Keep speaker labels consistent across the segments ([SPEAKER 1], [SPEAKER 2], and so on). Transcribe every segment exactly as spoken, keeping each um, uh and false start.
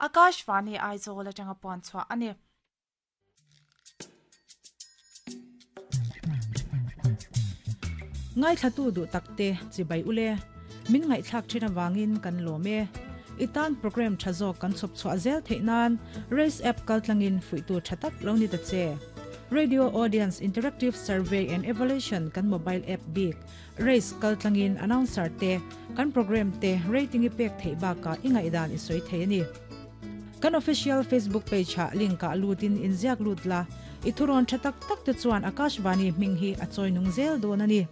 [SPEAKER 1] Akashvani Aizawl atanga puan chhuah ani.
[SPEAKER 2] Ngai thlatu du takte chibai ule min ngai thlak thina wangin kan lome itan program thazo kan chop chwa zel theinan Race app kaltlangin fuitu thatak lo ni ta che. Radio Audience Interactive Survey and Evaluation kan mobile app big Race kaltlangin announcer te kan program te rating ipek thei ba ka ingai dan isoi thei ani. Kan official Facebook page ha link ka lutin inziak lutla ithuron thatak tak te chuan Akashvani minghi achoi nung zel don ani.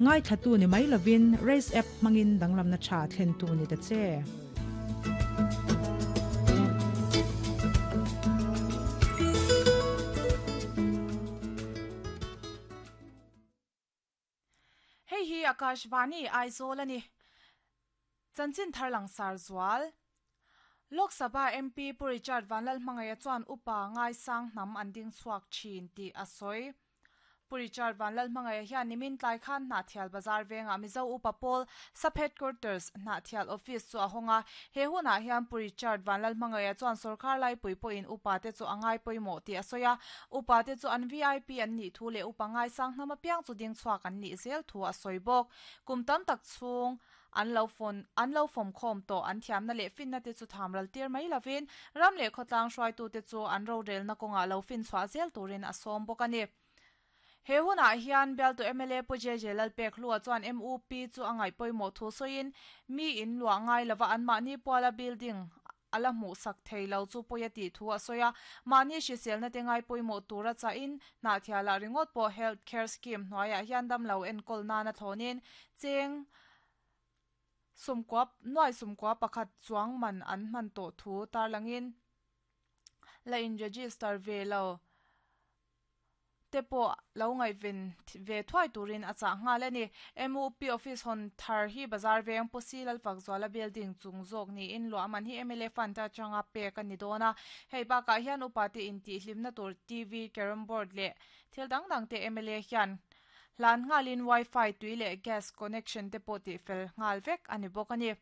[SPEAKER 2] Ngai thatu ni mai lovin Race app mangin danglam na tha thlen tu ni ta che.
[SPEAKER 1] Hei hi Akashvani Aizawl ani. Chanchin tharlang sar zual. Lok Sabha M P Pu Richard Vanlalhmangaiha chuan upa ngai sang hnam an ding chhuak thin tih a sawi. Pu Richard Vanlalhmangaiha hian nimin tlai khan Hnahthial Bazar venga Mizo upa pawl sub headquarters Hnahthial office chu a hawnga. He hunah hian Pu Richard Vanlalhmangaiha chuan sarkar lai pui pawhin upa te chu angai pawimawh tih a sawi a. Upa te chu an V I P an nih thu leh upa ngai sang hnam apiang chu ding chhuak an nih zel thu a sawi bawk. Kum tam tak chhung an lo phone an lo fom khom to an thiam na leh fin na te chu thamral tir mai lovin ram leh khotlang hruai tu te chu an ro rel na kawnga lo fin chhuah zel turin a sawm bawk ani. He hunah hian bial tu M L A Pu J J Lalpek hlua chuan M U P chu angai pawimawh thu sawiin mi in luah ngai lova an mahni puala building ala hmuh sak thei lo chu pawi a tih thu a sawi a. Mahni hriselna te ngai pawimawh tura chahin Hnahthialah ringawt pawh health care scheme hnuaiah hian dam lo enkawl nana thlawnin cheng sumkuap nuai sumkua pakhat chuang man an hman tawh thu tarlangin la in register ve lo te pawh lo ngai ven ve thuai turin a chah nghal ani. M U P office hawn thar hi bazar veng Pu Si Lalfak Zuala building chung zawk niin luah man hi M L A fund atanga pek ani dawn a. Hei bakah hian upa te in tih hlimna tur T V, carrom board leh thil dang dang te M L A hian hlan nghalin wifi tui leh gas connection te pawh tih fel nghal vek ani bawk ani.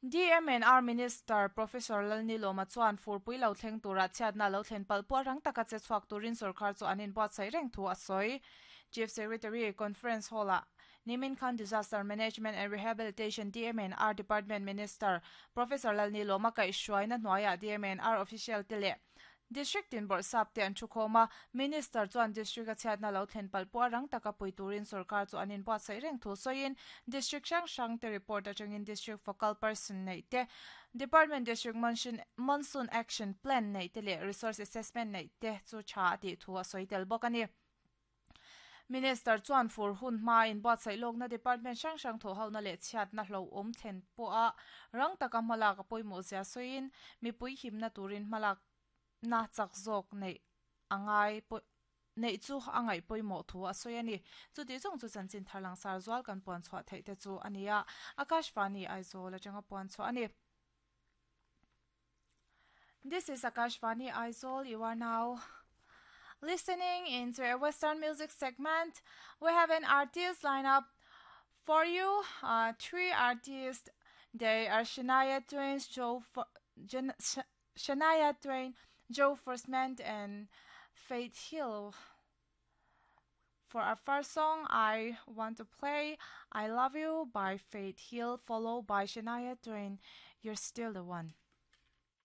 [SPEAKER 1] D M N R Minister Professor Lalnilawma chuan furpui lo thleng tura chhiatna lo thlen pal pawh rang taka che chhuak turin sarkar chu an inbuatsaih reng thu a sawi. Chief Secretary Conference Hall ah Nimin Khan Disaster Management and Rehabilitation D M N R Department Minister Professor Lalnilawma kaihhruaina hnuaiah D M N R official te leh District tin bawrhsap te an thu khawm a. Minister chuan district a chhiatna lo thlen pal pawh rang taka pui turin sarkar chu an inbuatsaih reng thu sawiin district hrang hrang te report atangin district focal person nei te department district monsoon, monsoon action plan nei te leh resource assessment nei te chu tha a tih thu a sawi tel bawk ani. Minister chuan fur hun hma in buatsaih lawkna department hrang hrang thaw hona leh chhiatna hlo awm thlen pawh a rang taka hmalak a pawimawh zia sawiin mipui himna turin hmalak na chak zawk nei angai nei chu angai pawimawh thu a sawi ani. Chuti zawng chu chanchin tharlang sar zual kan puan chhuah theih te chu ania. Akashvani Aizawl atanga puan chhuah ani. This is Akashvani Aizawl. You are now listening into a Western music segment. We have an artist lineup for you. Uh, three artists. They are Shania Twain, Joe For- Jen- Sh- Shania Twain, Joe Forsman, and Faith Hill. For our first song, I want to play I Love You by Faith Hill, followed by Shania Twain, You're Still the One.